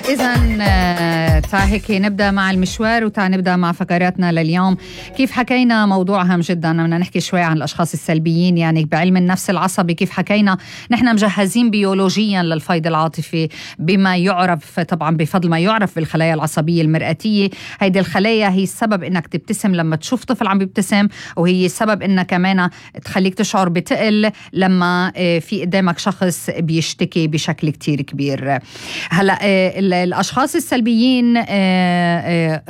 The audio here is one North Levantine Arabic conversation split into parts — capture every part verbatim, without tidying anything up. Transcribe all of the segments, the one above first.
إذن تعال هيك نبدأ مع المشوار وتعال نبدأ مع فقراتنا لليوم. كيف حكينا موضوع هام جدا، بدنا نحكي شوي عن الأشخاص السلبيين، يعني بعلم النفس العصبي كيف حكينا نحن مجهزين بيولوجيا للفيض العاطفي بما يعرف طبعا بفضل ما يعرف بالخلايا العصبية المرئتية. هيدي الخلايا هي السبب إنك تبتسم لما تشوف طفل عم بيبتسم، وهي السبب إنها كمان تخليك تشعر بتقل لما في قدامك شخص بيشتكي بشكل كتير كبير. هلأ الأشخاص السلبيين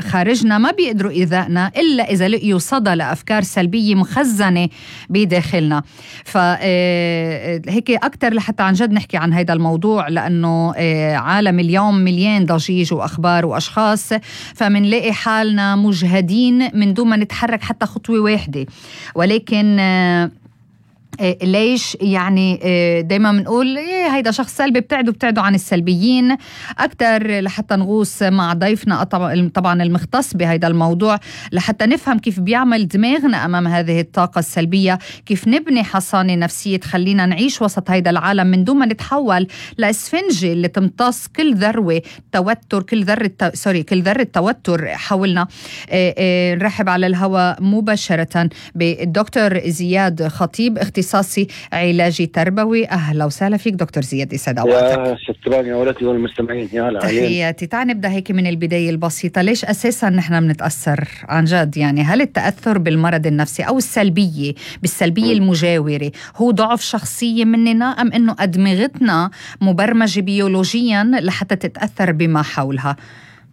خارجنا ما بيقدروا إيذائنا إلا إذا لقيوا صدى لأفكار سلبية مخزنة بداخلنا. فهيك أكتر لحتى عن جد نحكي عن هذا الموضوع، لأنه عالم اليوم مليان ضجيج وأخبار وأشخاص، فمنلاقي حالنا مجهدين من دون ما نتحرك حتى خطوة واحدة. ولكن ليش يعني دايما بنقول إيه هيدا شخص سلبي، بتعدوا بتعدوا عن السلبيين أكتر لحتى نغوص مع ضيفنا طبعا المختص بهيدا الموضوع لحتى نفهم كيف بيعمل دماغنا أمام هذه الطاقة السلبية، كيف نبني حصانة نفسية تخلينا نعيش وسط هيدا العالم من دون ما نتحول لإسفنجة اللي تمتص كل ذروة توتر كل ذرة تو... سوري كل ذرة توتر حولنا. نرحب على الهواء مباشرة بالدكتور زياد خطيب، اختصاصي علاجي تربوي. أهلا وسهلا فيك دكتور زياد، يسعد اوقاتك. يا شكرا يا ولدي والمستمعين، يا هلا. تحياتي. تعال نبدأ هيك من البداية البسيطة، ليش أساسا نحن بنتأثر عن جد؟ يعني هل التأثر بالمرض النفسي أو السلبية بالسلبية م. المجاورة هو ضعف شخصية مننا، أم أنه أدمغتنا مبرمجة بيولوجيا لحتى تتأثر بما حولها؟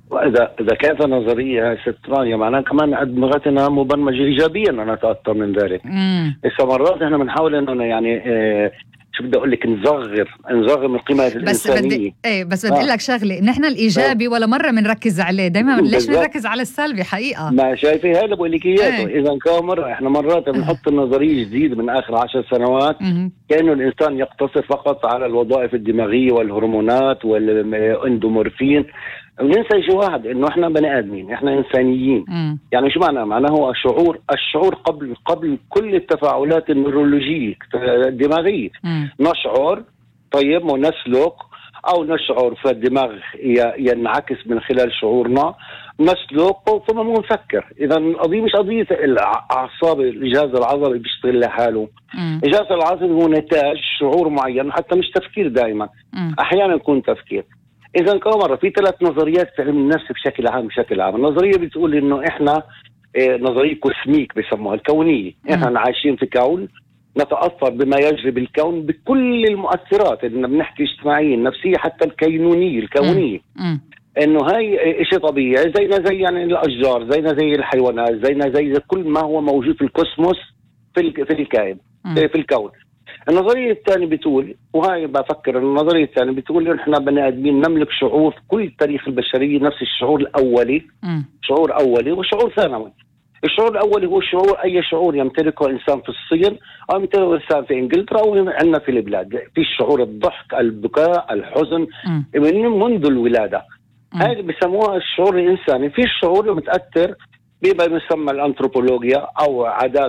وإذا إذا كانت نظرية ست رانيا معناها كمان أدمغتنا مبرمجة إيجابيا أنا أتأثر من ذلك. إذا مرات إحنا بنحاول إنه يعني إيه شو بدي أقول لك نصغر نصغر من قيمة الإنسانية. بس بدي إيه بس بدي أقول لك شغلة، نحن الإيجابي ولا مرة بنركز عليه، دايما ليش بنركز على السلبي حقيقة؟ ما شايفي هذا بقول لك إياه. إذا كان مرة إحنا مرات بنحط النظرية جديد من آخر عشر سنوات كأنه الإنسان يقتصر فقط على الوظائف الدماغية والهرمونات والإندومورفين، وننسى شيء واحد، انه احنا بني ادمين، احنا انسانيين. م. يعني شو معنى؟ معناه هو الشعور الشعور قبل قبل كل التفاعلات النيرولوجيه الدماغيه. م. نشعر طيب ونسلك، او نشعر فالدماغ ينعكس من خلال شعورنا، نسلك ثم نفكر. اذا القضيه مش قضيه الاعصاب، الجهاز العصبي بيشتغل لحاله. م. الجهاز العصبي هو نتاج شعور معين، حتى مش تفكير دائما. م. احيانا يكون تفكير. إذا كامرة في ثلاث نظريات في علم النفس بشكل عام بشكل عام. النظرية بتقول إنه إحنا إيه نظرية كوسميك بيسموها الكونية. إحنا عايشين في كون نتأثر بما يجري بالكون بكل المؤثرات اللي بنحكي اجتماعية نفسية حتى الكينونية الكونية. م. إنه هاي إشي طبيعي زينا زي يعني الأشجار، زينا زي الحيوانات، زينا زي كل ما هو موجود في الكوسموس في في الكائن في الكون. النظرية الثانية بتقول، وهاي بفكر النظرية الثانية بتقول إن إحنا بني آدمين نملك شعور في كل تاريخ البشرية، نفس الشعور الأولي. م. شعور أولي وشعور ثانوي. الشعور الأولي هو شعور أي شعور يمتلكه إنسان في الصين أو يمتلكه إنسان في إنجلترا أو عندنا في البلاد. في الشعور الضحك، البكاء، الحزن من منذ الولادة. هاي بيسموها الشعور الإنساني. في الشعور المتأثر بما يسمى الأنثروبولوجيا أو عادات